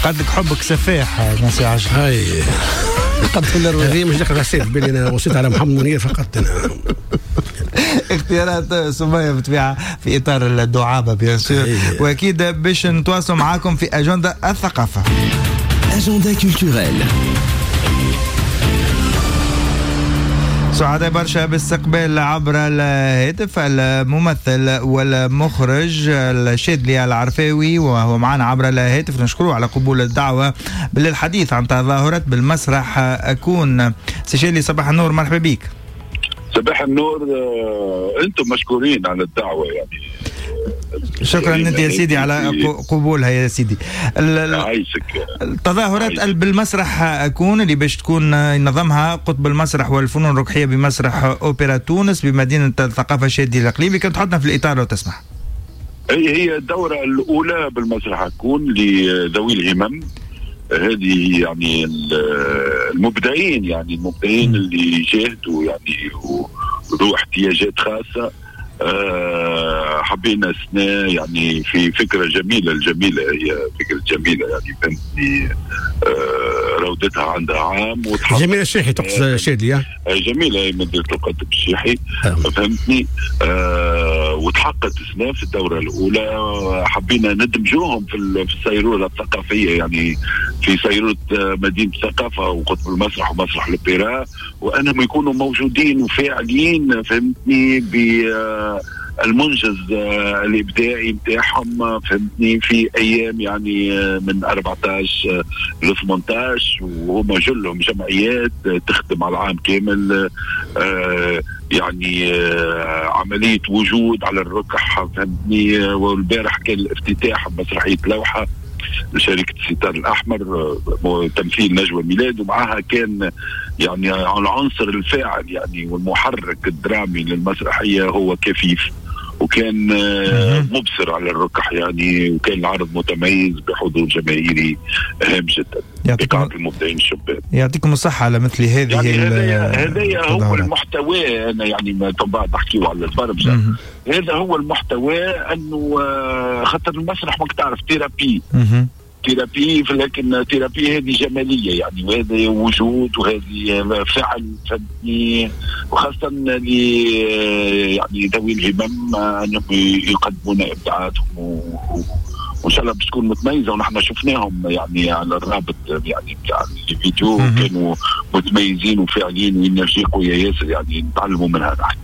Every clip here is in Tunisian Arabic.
قد لك حبك سفاح نسي عشر. هاي قد هذه مش داخل حسيت بالي انا وصيت على محمد منير فقط. انا اختيارات سمية بالطبيعة في اطار الدعابة bien sûr، واكيد باش نتواصلوا معاكم في اجندة الثقافة. agenda culturel. سعداء برشا باستقبال عبر الهاتف الممثل والمخرج الشاذلي العرفاوي، وهو معنا عبر الهاتف. نشكره على قبول الدعوة للحديث عن تظاهرات بالمسرح أكون. سي شاذلي صباح النور، مرحبا بك. صباح النور، انتم مشكورين على الدعوة يعني. شكرا انت يا سيدي على قبولها يا سيدي. عايشك. التظاهرات بالمسرح أكون اللي باش تكون نظمها قطب المسرح والفنون الركحية بمسرح أوبرا تونس بمدينة الثقافة الشاذلي القليبي، كنت تحطنا في الإطار لو تسمح. هي الدورة الأولى بالمسرح أكون لذوي الهمم، هذه يعني المبدعين، يعني المبدعين اللي جاهدوا يعني وذو احتياجات خاصة. حبينا السنة يعني في فكرة جميلة، الجميلة هي فكرة جميلة يعني فهمتني، روضتها عندها عام. جميلة الشيحي تقصد شادي؟ جميلة هي مديرة القطب الشيحي فهمتني. وتحققت السنة في الدورة الأولى، حبينا ندمجوهم في السيرورة الثقافية، يعني في سيرورة مدينة الثقافة وقطب المسرح ومسرح الأوبرا، وأنهم يكونوا موجودين وفاعلين فهمتني بالمنجز الإبداعي متاعهم فهمتني في أيام يعني من 14 ل 18، وهم جلهم جمعيات تخدم على العام كامل، يعني عملية وجود على الركح فهمتني. والبارح كان الافتتاح بمسرحية لوحة لشركة الستار الأحمر تمثيل نجوى ميلاد، ومعها كان يعني العنصر الفاعل يعني والمحرك الدرامي للمسرحية هو كفيف، وكان مبصر على الركح يعني، وكان العرض متميز بحضور جماهيري هام جدا بقاعة المبدعين الشباب. يعطيكم الصحة على مثل هذه يعني هذا هو المحتوى. أنا يعني ما بعد نحكيو على البرمجة، هذا هو المحتوى، أنه خاطر المسرح ماك تعرف thérapie thérapie، لكن thérapie هذه جمالية يعني، وهذا وجود وهذه فعل فهمتني، وخاصة يعني ذوي الهمم أنهم يقدمون إبداعاتهم وإن شاء الله باش تكون متميزة. ونحن شفناهم يعني على الرابط يعني بتاع الفيديو، كانوا متميزين وفاعلين و énergie قوية ياسر، يعني نتعلموا منها نحن.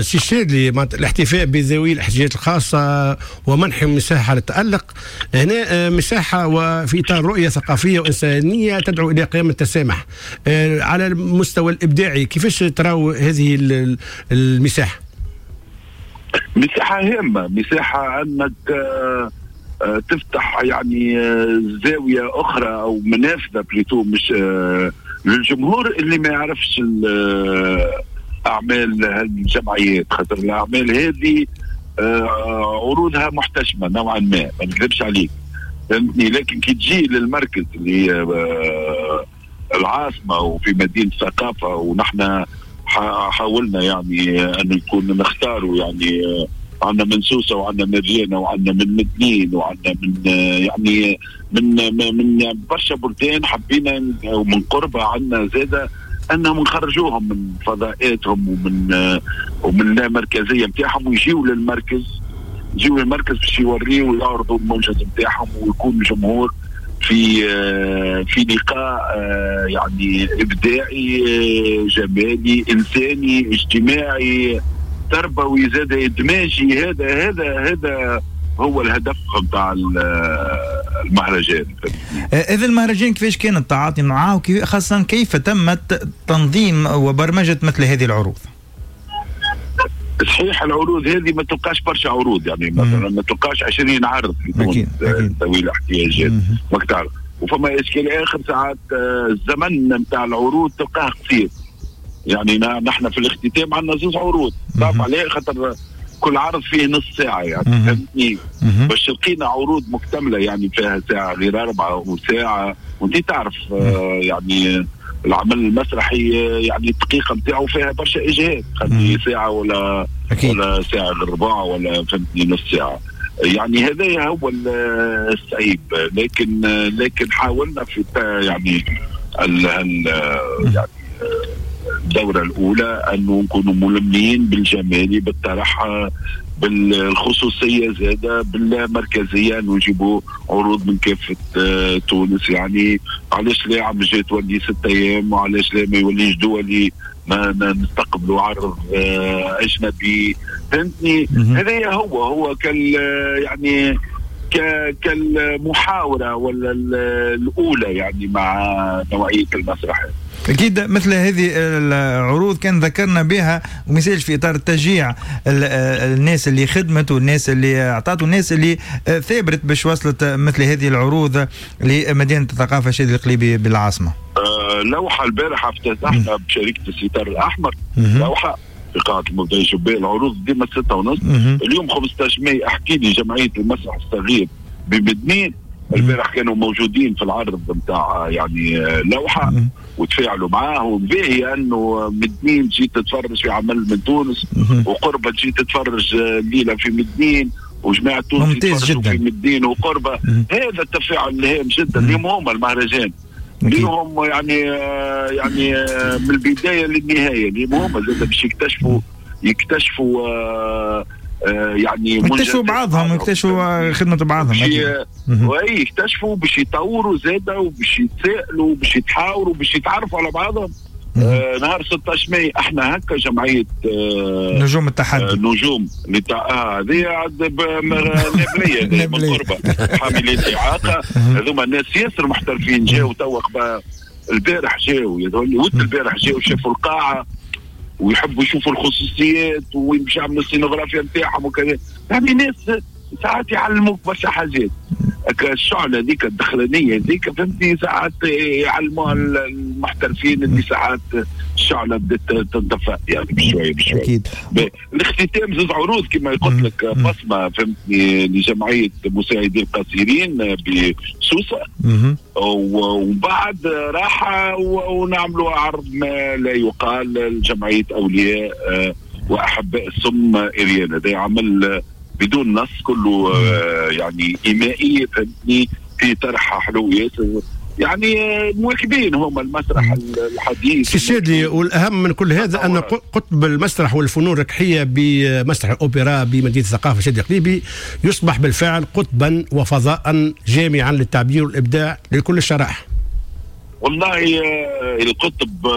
سي الشاذلي، الاحتفاء بذوي الاحتياجات الخاصة ومنحهم مساحة للتألق، هنا مساحة وفي إطار رؤية ثقافية وإنسانية تدعو إلى قيام التسامح على المستوى الإبداعي، كيفاش تراو هذه المساحة؟ مساحة هامة، مساحة أنك تفتح يعني زاوية أخرى أو منافذة plutôt مش للجمهور اللي ما يعرفش أعمال هالجمعيات، خاطر الأعمال هذه عروضها محتشمة نوعا ما، ما نكذبش عليك فهمتني. لكن كي تجي للمركز اللي العاصمة وفي مدينة الثقافة، ونحن حاولنا يعني أن يكون نختاروا يعني عندنا من سوسة وعندنا من ريانا وعندنا من مدنين وعندنا من يعني من برشا بلدان، حبينا ومن قربة عندنا زادة أنهم نخرجوهم من فضاءاتهم ومن اللامركزية متاعهم، ويجيوا للمركز، يجيوا للمركز باش يوريوا ويعرضوا المنجز متاعهم، ويكون الجمهور في لقاء يعني إبداعي جمالي إنساني اجتماعي تربوي زاد إدماجي. هذا هذا هذا هو الهدف نتاع المهرجان. إذا المهرجان كيفاش كان التعاطي معه، خاصة كيف تمت تنظيم وبرمجة مثل هذه العروض؟ صحيح العروض هذه ما تلقاش برشا عروض، يعني مثلا ما تلقاش 20 عرض في تونس ذوي الاحتياجات ماك تعرف. وفما اشكال اخر، ساعات الزمن نتاع العروض تلقاه قصير، يعني نحن في الاختتام عندنا 2 عروض، تعرف عليه، خاطر كل عرض فيه نص ساعة يعني فهمتني، باش لقينا عروض مكتملة يعني فيها ساعة غير 4 وساعة، وانت تعرف يعني العمل المسرحي يعني الدقيقة نتاعو فيها برشا إجهاد، خلي ساعة ولا ساعة غير ربع ولا فهمتني نص ساعة. يعني هذا هو الصعيب، لكن حاولنا في يعني يعني الدورة الأولى أنه نكونوا ملمين بالجمالي، بالطرح، بالخصوصية زادة، بالمركزية، نجيبوا عروض من كافة تونس. يعني علاش لا عام الجاي تولي 6 أيام، وعلاش لا ما يوليش دولي، ما نستقبلوا عرض أجنبي، فهمتني؟ هذا هو كال يعني كالمحاورة ولا الأولى يعني مع نوعية المسرح. أكيد مثل هذه العروض كان ذكرنا بها ومثال في إطار تشجيع الناس اللي خدمت والناس اللي أعطت والناس اللي ثابرت باش وصلت مثل هذه العروض لمدينة الثقافة الشاذلي القليبي بالعاصمة. لوحة البارحة افتتحنا بشركة الستار الأحمر، لوحة في قاعة المبدعين شباب، العروض ديما 6:30. اليوم 15 ماي أحكي لي جمعية المسرح الصغير بمدنين البارح كانوا موجودين في العرض نتاع يعني لوحة وتفاعلوا معاه، وباهي انه مدنين تجي تتفرج في عمل من تونس، وقربة تجي تتفرج الليلة في مدنين، وجماعة تونس يتفرجوا في مدنين وقربة. هذا التفاعل الهام جدا. اليوم هما المهرجان اليوم يعني من البداية للنهاية، اليوم هما زاد باش يكتشفوا يعني يكتشفوا بعضهم، يكتشفوا خدمة بعضهم، يكتشفوا باش يطوروا زادة، وباش يتسائلوا، وباش يتحاوروا، وباش يتعرفوا على بعضهم. نهار 16 ماي احنا هكا جمعية نجوم التحدي، نجوم هذه نابلية من قربة حاملي الإعاقة، هذوما الناس ياسر محترفين، جاوا توا البارح، جاوا البارح جاوا شافوا القاعة ويحبوا يشوفوا الخصوصيات وين باش يعملوا السينوغرافيا نتاعهم وكذا. يعني ناس ساعات يعلموك برشا حاجات، الشعلة هذيك الدخلانيه هذيك، فهمتني، ساعات يعلموها المحترفين اللي ساعات الشعلة بدات تنطفى يعني بشوية بشوية. اكيد. الاختتام زوج عروض كما قلت لك، بصمة فهمتني لجمعية مساعدي القاصرين بسوسه، وبعد راحة ونعملوا عرض ما لا يقال لجمعية اولياء واحباء السم اريانا. هذا عمل بدون نص، كله يعني إيمائي، فهمتني، في طرح حلو ياسر، يعني مواكبين هما المسرح الحديث. سي الشاذلي، والاهم من كل هذا ان قطب المسرح والفنون الركحيه بمسرح الاوبرا بمدينة الثقافة الشاذلي القليبي يصبح بالفعل قطبا وفضاء جامعا للتعبير والابداع لكل الشرائح. والله القطب